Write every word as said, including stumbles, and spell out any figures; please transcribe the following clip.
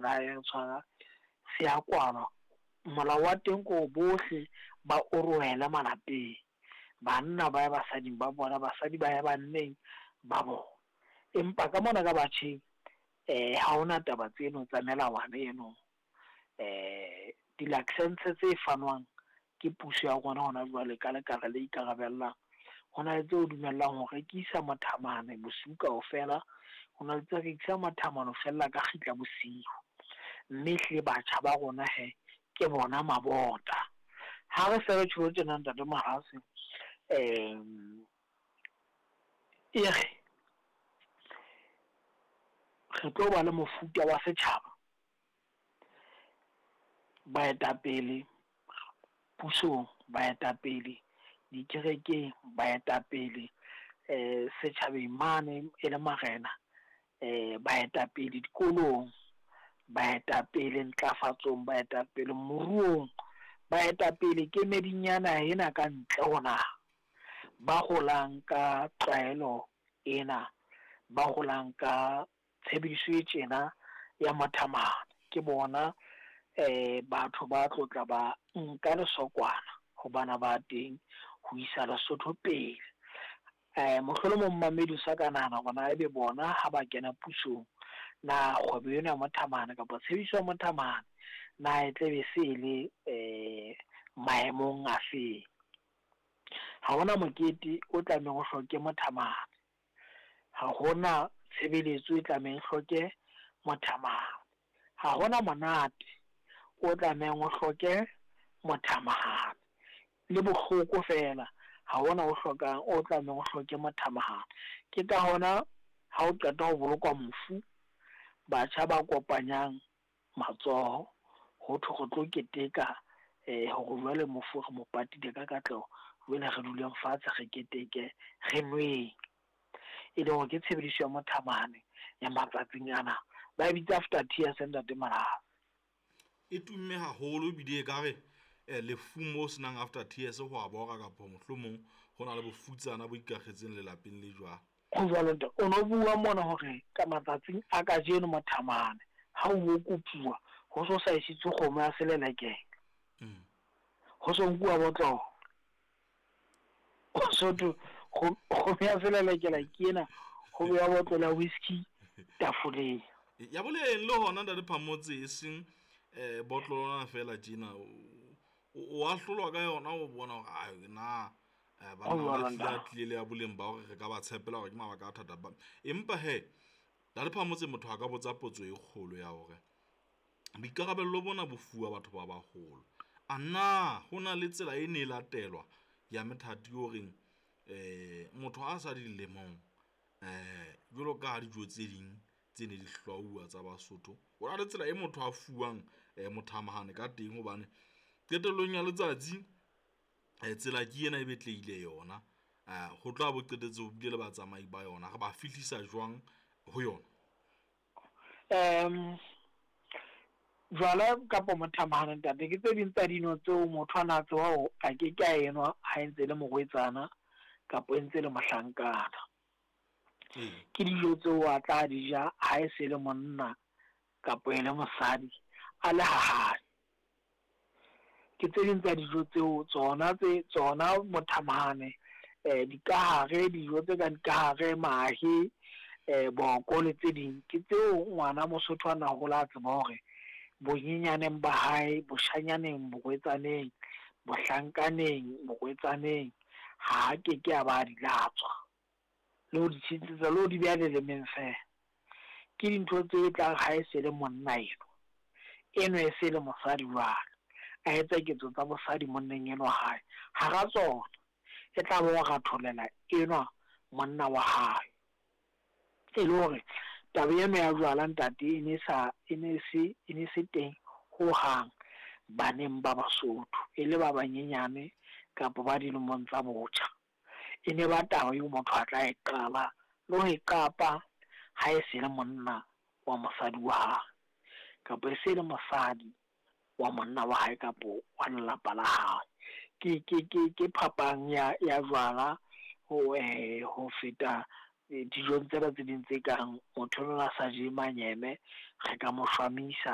La tshwara se a kwalwa. Molao wa teng ko bohle ba orohele malapeng. Banna ba ye basading ba bona, basadi ba ye banneng ba bona. Empa ka mona ka batjheng ha hona taba tseno tsa melawana eno. Di-licence tse fanwang ke puso ya rona hona jwale ka lekala le ikarabellang. Ho na le tse o dumellang ho rekisa mothamane bosiu kaofela, ho na le tse rekisang mothamane ho fella ka kgitla bosiu. Mme ehlile batjha ba rona hee ke bona mabota. Ha re se re tjho tjena ntate Mohase, e re re tlo ba le mofuta wa setjhaba, baetapele pusong, baetapele dikerekeng, baetapele setjhabeng mane e le marena, baetapele dikolong, baetapele ntlafatsong, baetapele moruong, baetapele kemeding ya naha ena ka ntle ho naha. Ba holang ka tlwaelo ena, ba holang ka tshebediso e tjena ya mothamane. Ke bona batho ba tlo tla ba nka lesokwana ho bana ba teng ho isa Lesotho pele. Mohlolomong momamedi o sa ka nahana hore na ebe bona ha ba kena pusong, na kgwebo ena ya mothamane kapa tshebediso ya mothamane na e tla be se le maemong a feng? Ha hona mokete o tlamehang o hloke mothamane, ha hona tshebeletso e tlamehang e hloke mothamane, ha hona monate o tlamehang o hloke mothamahane, le bohloko feela ha hona o hlokang, o tlamehang o hloke mothamahane. Ke ka hona ha o qeta ho bolokwa mofu, batjha ba kopanyang matsoho ho thwe re tlo keteka hore jwale mofu re mo patile ka katleho, jwale re duleng fatshe re keteke, re nweng. E leng hore ke tshebediso ya mothamane ya matsatsing ana. Ba e bitsa after tears ntate . E tumme haholo ebile ekare lefung moo senang after tears ho a bora kapa mohlomong ho na le bofutsana bo ikakgetseng lelapeng le jwalo. Ho jwalo ntate. O no bua mona hore ka matsatsing a kajeno mothamane ha o kopuwa ho so sa isitswe kgomo ya selelekela. Mm. Ho so nkuwa botlolo. Ho so thwe kgomo ya selelekela ke ena, ho bewa botlolo ya whisky tafoleng. Ya boleng le hona ntate Phamotse e seng eh botlolo ona fela tjena o ahlolwa ka yona o bona hore ai na banna ba tlile le ya boleng ba hore re ka ba tshepela hore ke mabaka a thata ba. Empa he ntate Phamotse motho a ka botsa potso e kgolo ya hore boikarabello bona bo fuwa batho ba baholo. A na ho na le tsela e ne latelwa ya methati o reng eh motho a sa dilemong eh jwalo ka dijo tse ding tse ne di hlwauwa tsa Basotho, ho na le tsela e motho a fuwang mothamahane ka teng hobane qetellong ya letsatsi tsela ke ena e betlehile yona, ho tla bo qetetse ho bile le batsamai ba yona, re ba fihlisa jwang ho yona? Um jwala kapa mothamahane ntate ke tse ding tsa dino tseo motho a na tseba hore a ke ke a enwa ha e ntse le morwetsana kapa e ntse le mohlankana. Ke dijo tseo a tla di ja ha e se le monna kapa e le mosadi a le ha hae. Ke tse ding tsa dijo tseo tsona tse tsona mothamahane dikahare, dijo tse kang dikahare, mahe, boko le tse ding, ke tseo ngwana Mosotho a na hola a tseba hore bonyenyaneng ba hae, boshanyaneng, borwetsaneng, bohlankaneng, borwetsaneng, ha ke ke a ba di latswa le ho di tjhentjhetsa le ho di beha lelemeng fela. Ke dintho tse tlang ha e se le monna enwa, enwa e se le mosadi jwale, a etsa ketso tsa bosadi monneng enwa wa hae. Hara tsona e tla ba ratholela enwa monna wa hae. E le hore taba ena ya jwala ntate e ne sa e ne se e ne se teng ho hang baneng ba Basotho, e le ba banyenyane kapa ba dilemong tsa botjha. E ne ba taba eo motho a tla e qala le ho e qapa ha e se le monna wa mosadi wa hae, kapa e se le mosadi wa monna wa hae kapa wa lelapa la hae. Ke ke ke ke phapang ya ya jwala ho eh ho feta Dijong tsena tse ding tse kang motho enwa a sa je manyeme, re ka mo shwamisa.